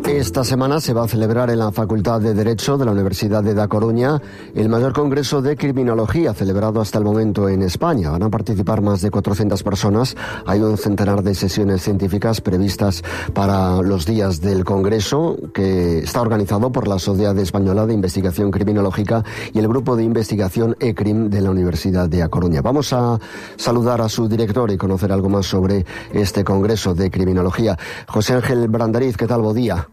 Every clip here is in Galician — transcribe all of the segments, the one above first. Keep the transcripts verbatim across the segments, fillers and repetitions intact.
Esta semana se va a celebrar en la Facultad de Derecho de la Universidad de Da Coruña el mayor congreso de criminología celebrado hasta el momento en España. Van a participar más de cuatrocientas personas. Hay un centenar de sesiones científicas previstas para los días del congreso, que está organizado por la Sociedad Española de Investigación Criminológica y el Grupo de Investigación ECRIM de la Universidad de A Coruña. Vamos a saludar a su director y conocer algo más sobre este congreso de criminología. José Ángel Brandariz, ¿qué tal? Bo día.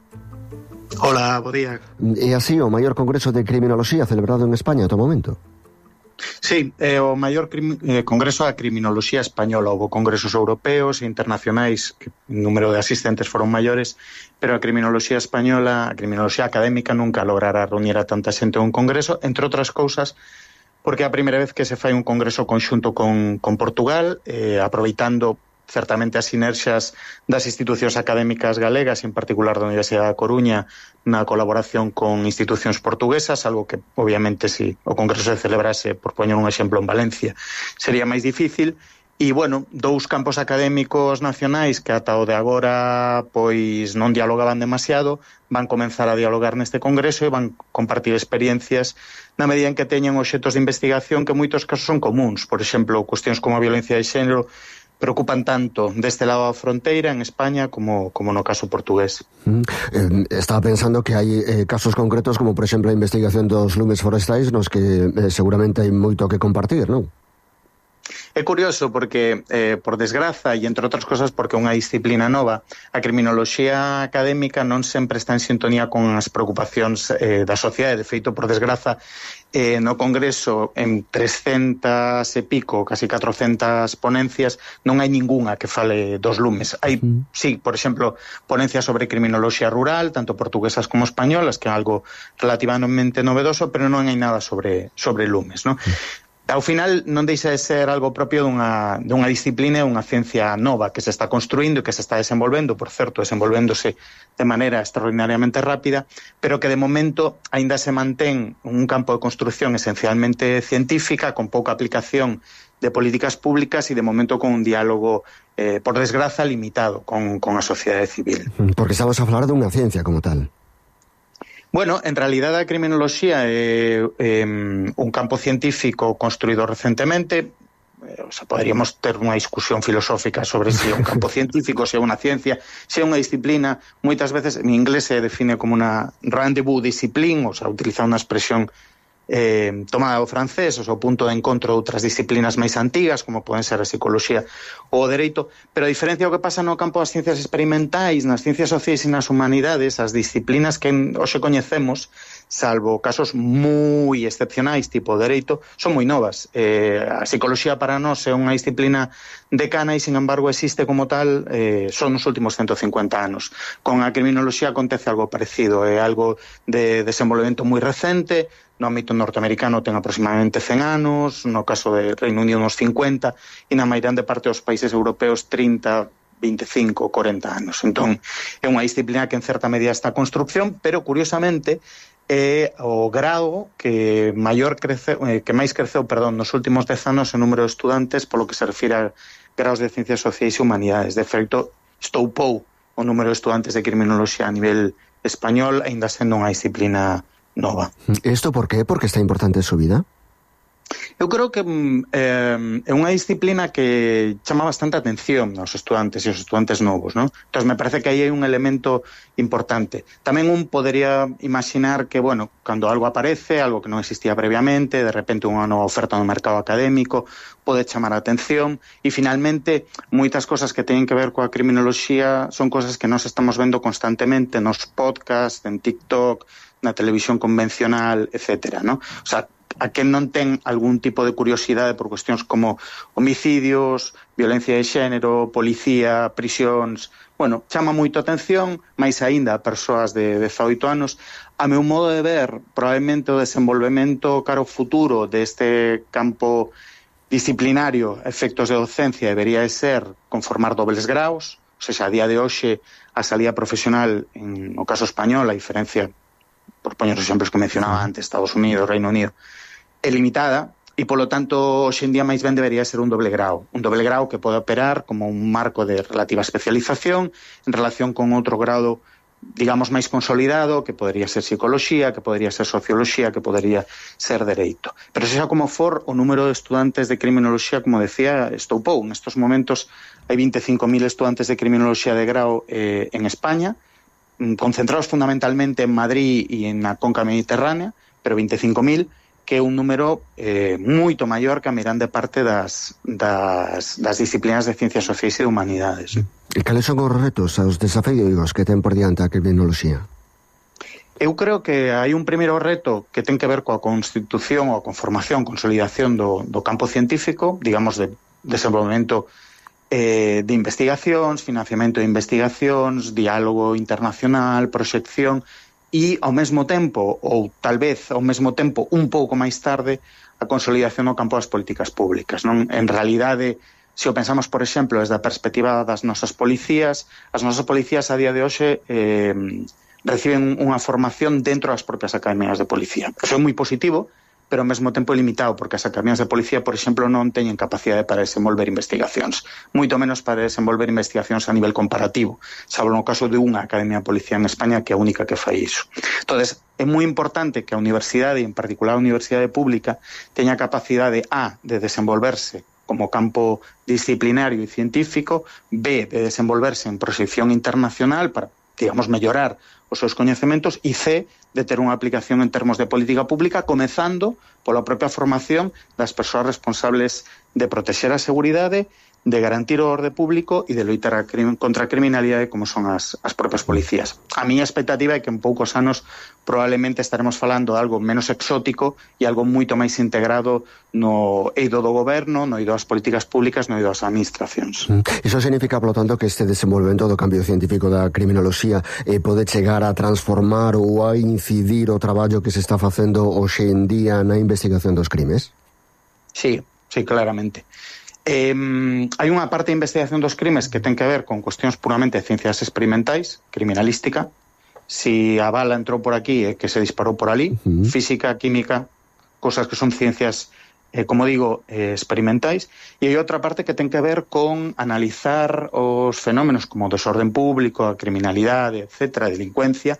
Hola, bo día. É así o maior congreso de criminoloxía celebrado en España ata o momento? Sí, é o maior crim, eh, congreso da criminoloxía española. Houve congresos europeos e internacionais, que o número de asistentes foron maiores, pero a criminoloxía española, a criminoloxía académica, nunca logrará reunir a tanta xente en un congreso, entre outras cousas, porque é a primeira vez que se fai un congreso conxunto con, con Portugal, eh, aproveitando certamente as sinerxias das institucións académicas galegas, en particular da Universidade da Coruña, na colaboración con institucións portuguesas, algo que, obviamente, se si o congreso se celebrase, por poñer un exemplo, en Valencia, sería máis difícil. E, bueno, dous campos académicos nacionais que ata o de agora pois non dialogaban demasiado, van comenzar a dialogar neste congreso e van compartir experiencias na medida en que teñen obxectos de investigación que en moitos casos son comuns. Por exemplo, cuestións como a violencia de xénero preocupan tanto deste lado da fronteira en España como, como no caso portugués. Mm, eh, estaba pensando que hai eh, casos concretos como, por exemplo, a investigación dos lumes forestais nos que eh, seguramente hai moito que compartir, non? É curioso porque, eh, por desgraza, e entre outras cosas porque é unha disciplina nova, a criminoloxía académica non sempre está en sintonía con as preocupacións eh, da sociedade. De feito, por desgraza, eh, no Congreso, en trescentas e pico, casi catrocentas ponencias, non hai ningunha que fale dos lumes. Hai, uh-huh. sí, por exemplo, ponencias sobre criminoloxía rural, tanto portuguesas como españolas, que é algo relativamente novedoso, pero non hai nada sobre, sobre lumes, non? Uh-huh. Ao final non deixa de ser algo propio dunha, dunha disciplina e unha ciencia nova que se está construindo e que se está desenvolvendo, por certo, desenvolvéndose de maneira extraordinariamente rápida, pero que de momento aínda se mantén un campo de construcción esencialmente científica, con pouca aplicación de políticas públicas e de momento con un diálogo, eh, por desgraza, limitado con, con a sociedade civil. Porque estamos a falar dunha ciencia como tal. Bueno, en realidad a criminoloxía é eh, un campo científico construído recentemente. O sea, podríamos ter unha discusión filosófica sobre se si é un campo científico, se si é unha ciencia, se si é unha disciplina. Moitas veces en inglés se define como unha rendezvous discipline, o sea, utiliza unha expresión eh, tomada do francés, o sea, o punto de encontro de outras disciplinas máis antigas, como poden ser a psicología ou o dereito, pero a diferencia do que pasa no campo das ciencias experimentais, nas ciencias sociais e nas humanidades, as disciplinas que hoxe coñecemos, salvo casos moi excepcionais, tipo o dereito, son moi novas. Eh, a psicología para nós é unha disciplina decana e, sin embargo, existe como tal eh, son nos últimos ciento cincuenta anos. Con a criminoloxía acontece algo parecido, é algo de desenvolvemento moi recente. No ámbito norteamericano ten aproximadamente cen anos, no caso de Reino Unido uns cincuenta, e na mairande parte dos países europeos trinta, veinticinco, corenta anos. Entón, é unha disciplina que en certa medida está en construcción, pero curiosamente é o grado que maior crece, eh, que máis creceu, perdón, nos últimos dez anos en número de estudantes polo que se refire a grados de ciencias sociais e humanidades. De feito, estoupou o número de estudantes de criminoloxía a nivel español, aínda sendo unha disciplina nova. Isto por qué? Porque está importante en su vida? Eu creo que eh, é unha disciplina que chama bastante atención aos estudantes e aos estudantes novos, ¿no? Entón, me parece que aí hai un elemento importante. Tamén un podería imaginar que, bueno, cando algo aparece, algo que non existía previamente, de repente unha nova oferta no mercado académico, pode chamar a atención, e finalmente, moitas cosas que teñen que ver coa criminoloxía son cosas que nós estamos vendo constantemente nos podcasts, en TikTok, na televisión convencional, etcétera, ¿no? O sea, a quen non ten algún tipo de curiosidade por cuestións como homicidios, violencia de xénero, policía, prisións, bueno, chama moito a atención, máis aínda a persoas de dezaoito anos. A meu modo de ver, probablemente o desenvolvemento caro futuro deste campo disciplinario, efectos de docencia, debería de ser conformar dobles graus, ou seja, a día de hoxe a salida profesional, en o caso español, a diferencia, por poñer os exemplos que mencionaba antes, Estados Unidos, Reino Unido, é limitada. e, polo tanto, hoxe en día máis ben debería ser un doble grau. Un doble grau que pode operar como un marco de relativa especialización en relación con outro grado, digamos, máis consolidado, que podería ser psicoloxía, que podería ser socioloxía, que podería ser dereito. Pero sexa como for, o número de estudantes de criminoloxía, como decía, estoupou. Nestos momentos hai vinte e cinco mil estudantes de criminoloxía de grau eh, en España, concentrados fundamentalmente en Madrid e na conca mediterránea, pero vinte e cinco mil, que é un número eh, moito maior que a mirande parte das, das, das disciplinas de ciencias sociais e de humanidades. E cales son os retos, os desafíos que ten por diante a criminoloxía? Eu creo que hai un primeiro reto que ten que ver coa constitución ou a conformación, consolidación do, do campo científico, digamos, de desenvolvemento eh, de investigacións, financiamento de investigacións, diálogo internacional, proxección, e ao mesmo tempo, ou tal vez ao mesmo tempo un pouco máis tarde, a consolidación no campo das políticas públicas. Non? En realidade, se o pensamos, por exemplo, desde a perspectiva das nosas policías, as nosas policías a día de hoxe eh, reciben unha formación dentro das propias academias de policía. Eso é moi positivo, pero ao mesmo tempo limitado, porque as academias de policía, por exemplo, non teñen capacidade para desenvolver investigacións, moito menos para desenvolver investigacións a nivel comparativo, salvo no caso de unha academia de policía en España, que é a única que fai iso. Entonces, é moi importante que a universidade, en particular a universidade pública, teña capacidade A, de desenvolverse como campo disciplinario e científico, B, de desenvolverse en proxección internacional para, digamos, mellorar os seus coñecementos, e C, de ter unha aplicación en termos de política pública, comezando pola propia formación das persoas responsables de protexer a seguridade, de garantir o orde público e de loitar a crime, contra a criminalidade, como son as, as propias policías. A miña expectativa é que en poucos anos probablemente estaremos falando de algo menos exótico e algo moito máis integrado no eido do goberno, no eido das políticas públicas, no eido das administracións. Iso significa, polo tanto, que este desenvolvemento do cambio científico da criminoloxía eh, pode chegar a transformar ou a incidir o traballo que se está facendo hoxe en día na investigación dos crimes? Sí, sí, claramente. Eh, hai unha parte de investigación dos crimes que ten que ver con cuestións puramente de ciencias experimentais, criminalística. Si a bala entrou por aquí é que se disparou por ali, uh-huh. Física, química, cosas que son ciencias, eh, como digo, eh, experimentais. E hai outra parte que ten que ver con analizar os fenómenos como o desorden público, a criminalidade, etcétera, a delincuencia,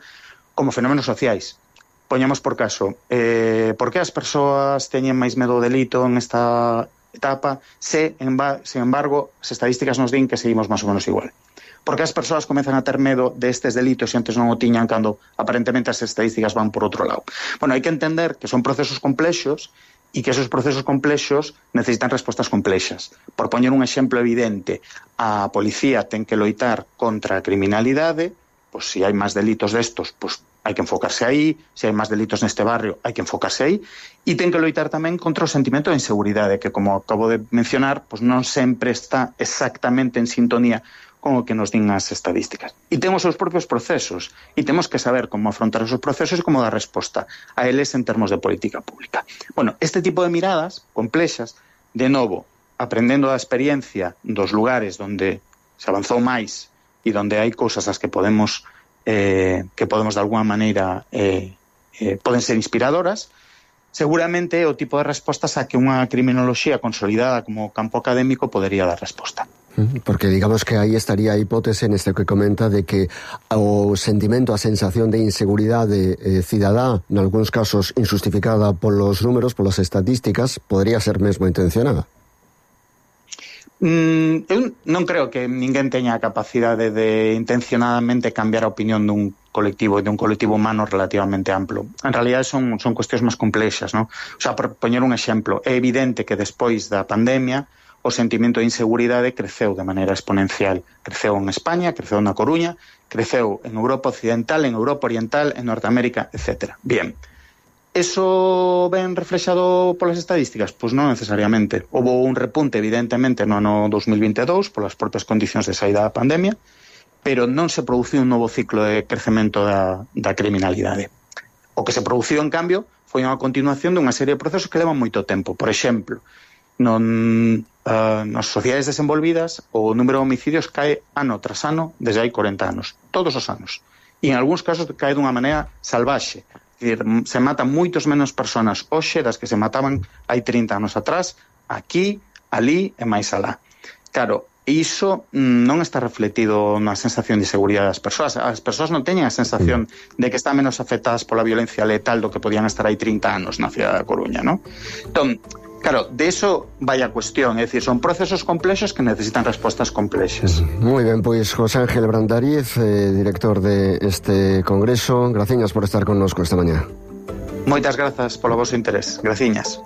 como fenómenos sociais. Poñamos por caso, eh, por que as persoas teñen máis medo ao delito en esta etapa, se, en ba, sin embargo, as estadísticas nos din que seguimos máis ou menos igual. Porque as persoas comezan a ter medo destes delitos e antes non o tiñan cando aparentemente as estadísticas van por outro lado. Bueno, hai que entender que son procesos complexos e que esos procesos complexos necesitan respostas complexas. Por poñer un exemplo evidente, a policía ten que loitar contra a criminalidade, pois se hai máis delitos destos, pois hai que enfocarse aí, se hai máis delitos neste barrio, hai que enfocarse aí, e ten que loitar tamén contra o sentimento de inseguridade, que, como acabo de mencionar, pois non sempre está exactamente en sintonía con o que nos din as estadísticas. E temos os propios procesos, e temos que saber como afrontar esos procesos e como dar resposta a eles en termos de política pública. Bueno, este tipo de miradas complexas, de novo, aprendendo da experiencia dos lugares onde se avanzou máis e onde hai cousas as que podemos Eh, que podemos de alguna maneira eh, eh, poden ser inspiradoras, seguramente o tipo de respostas a que unha criminoloxía consolidada como campo académico podería dar resposta. Porque digamos que aí estaría a hipótese neste que comenta de que o sentimento, a sensación de inseguridade eh, cidadá, en algúns casos injustificada polos números, polas estatísticas, podría ser mesmo intencionada. Mm, eu non creo que ninguén teña a capacidade de intencionadamente cambiar a opinión dun colectivo e dun colectivo humano relativamente amplo. En realidad son, son cuestións máis complexas, ¿no? O sea, por poñer un exemplo, é evidente que despois da pandemia o sentimento de inseguridade creceu de maneira exponencial. Creceu en España, creceu na Coruña, creceu en Europa Occidental, en Europa Oriental, en Norteamérica, etcétera. Bien. ¿Eso ven reflexado polas estadísticas? Pois non necesariamente. Houve un repunte, evidentemente, no ano dos mil vinte e dous polas propias condicións de saída da pandemia, pero non se produciu un novo ciclo de crecemento da, da criminalidade. O que se produciu, en cambio, foi unha continuación dunha serie de procesos que levan moito tempo. Por exemplo, non, uh, nas sociedades desenvolvidas o número de homicidios cae ano tras ano desde hai corenta anos. Todos os anos. E en algúns casos cae dunha maneira salvaxe. dicir, se matan moitos menos personas hoxe das que se mataban hai trinta anos atrás, aquí, ali e máis alá. Claro, iso non está refletido na sensación de seguridade das persoas. As persoas non teñen a sensación de que están menos afectadas pola violencia letal do que podían estar hai trinta anos na cidade da Coruña, non? Entón, claro, de eso vai a cuestión, é dicir, son procesos complexos que necesitan respostas complexas. Moi ben, pois José Ángel Brandariz, eh, director de este congreso, graciñas por estar connosco esta mañá. Moitas grazas polo vosso interés, graciñas.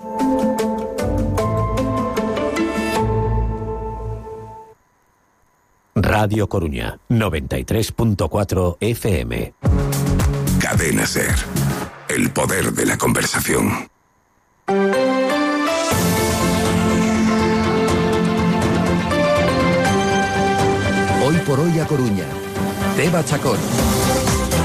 Radio Coruña, noventa y tres punto cuatro F M. Cadena SER, el poder de la conversación. Hoy por hoy a Coruña. Teba Chacón.